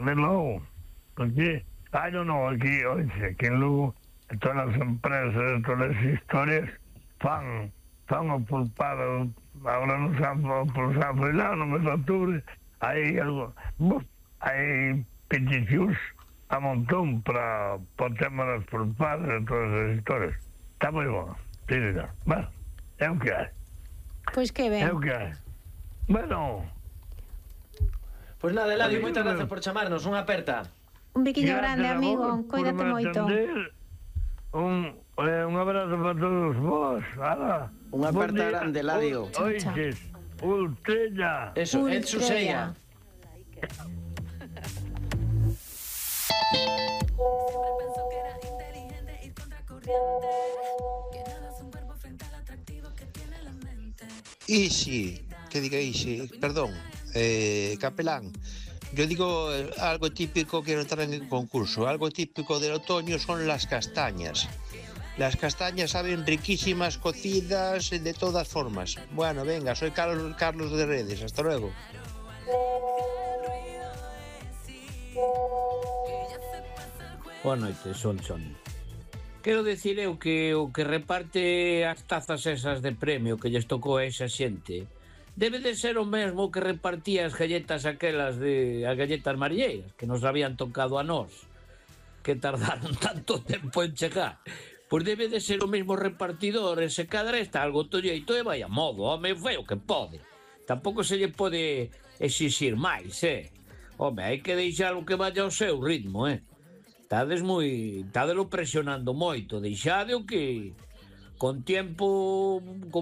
de Lugo. Porque, aquí en Lugo, todas las empresas, todas las historias, fan o pulpado, ahora no saben por San Fernando, no me octubre, hay peticiones a montón para el tema de las pulpadas y todas esas historias. Está muy bueno, sí, señor. Bueno, es lo que hay. Pois que ben. É o que é. Bueno. Pois nada, Eladio, moitas grazas por chamarnos. Unha aperta. Un biquiño grande, amigo. Cuídate moito. Un abrazo para todos vos. Unha aperta grande, Eladio. Oiches, Ultrella. Eso, el Susella. Ixi, que diga Ixi, perdón, Capelán. Yo digo algo típico, quiero entrar en el concurso, algo típico del otoño son las castañas. Las castañas saben riquísimas, cocidas, de todas formas. Bueno, venga, soy Carlos de Redes, hasta luego. Boa noite, son. Quero dicir eu que o que reparte as tazas esas de premio que lles tocou a esa xente debe de ser o mesmo que repartía as galletas aquelas as galletas marilleiras que nos habían tocado a nós, que tardaron tanto tempo en chegar. Pois debe de ser o mesmo repartidor, ese cadra está algo tolleito e vai a modo, home, foi o que pode. Tampouco se lle pode exixir máis, Home, hai que deixar o que vaya ao seu ritmo, Tádelo presionando moito, deixade o que con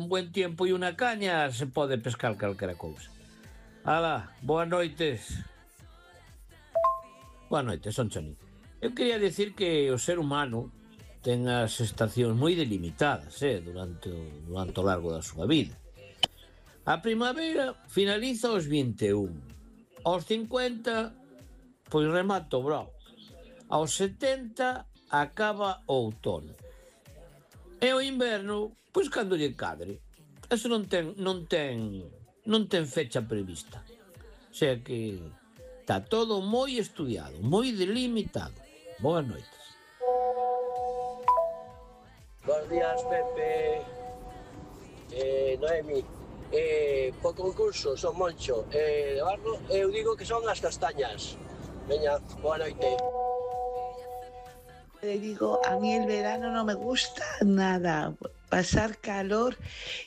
buen tiempo e unha caña se pode pescar calquera cousa. Ala, boas noites. Boas noites, son Choni. Eu quería decir que o ser humano ten as estacións moi delimitadas, durante o largo da súa vida. A primavera finaliza aos 21, aos 50, pois remata o brao. Aos 70 acaba o outono. E o inverno, pois cando lle cadre. Eso non ten fecha prevista. O sea que está todo moi estudiado, moi delimitado. Boas noites. Buenos días, Pepe. Noemi. Po concurso, son Moncho. De Barro, eu digo que son as castañas. Veña, boa noite. Le digo, a mí el verano no me gusta nada, pasar calor,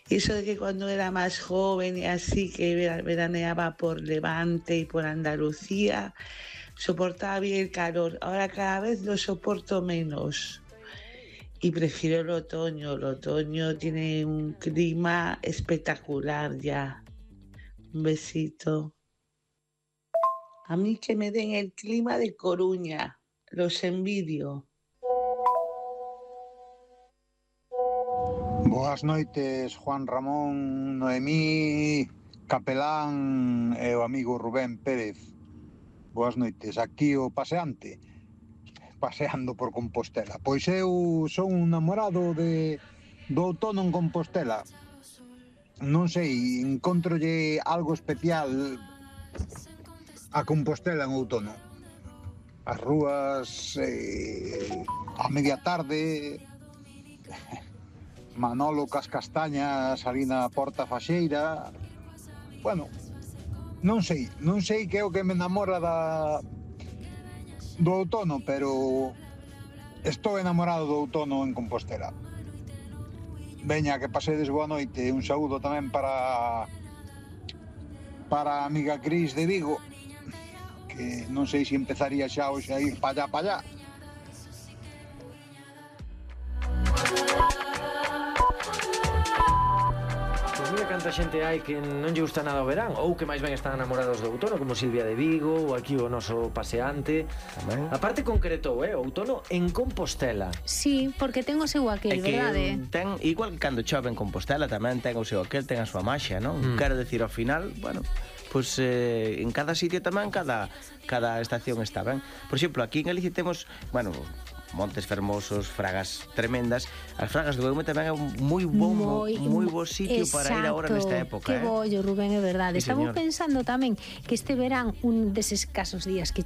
eso de que cuando era más joven y así que veraneaba por Levante y por Andalucía, soportaba bien el calor, ahora cada vez lo soporto menos y prefiero el otoño tiene un clima espectacular ya. Un besito. A mí que me den el clima de Coruña, los envidio. Boas noites, Juan Ramón, Noemí, Capelán e o amigo Rubén Pérez. Boas noites, aquí o paseante, paseando por Compostela. Pois eu son un namorado do outono en Compostela. Non sei, encontrolle algo especial a Compostela en outono. As rúas, a media tarde... Manolo cas castañas ali na Porta Faxeira. Bueno, non sei que é o que me enamora do outono, pero estou enamorado do outono en Compostela. Veña, que pasedes boa noite. Un saúdo tamén para a amiga Cris de Vigo, que non sei se empezaría xa hoxe a ir pa allá. Mira canta xente hai que non lle gusta nada o verán ou que máis ben están enamorados do outono, como Silvia de Vigo ou aquí o noso paseante. Tamén. A parte concretou, o outono en Compostela. Sí, porque ten o seu aquel, verdade? Ten, igual que cando chove en Compostela tamén ten o seu aquel, ten a súa maxia, non? Quero decir, ao final, bueno, pois en cada sitio tamén cada estación está ben. Por exemplo, aquí en Galicia temos, bueno, montes fermosos, fragas tremendas. As fragas do Eume tamén é un moi bo sitio para ir agora nesta época. Que bollo, Rubén, é verdade. Sí, Estamos pensando tamén que este verán, un deses casos días que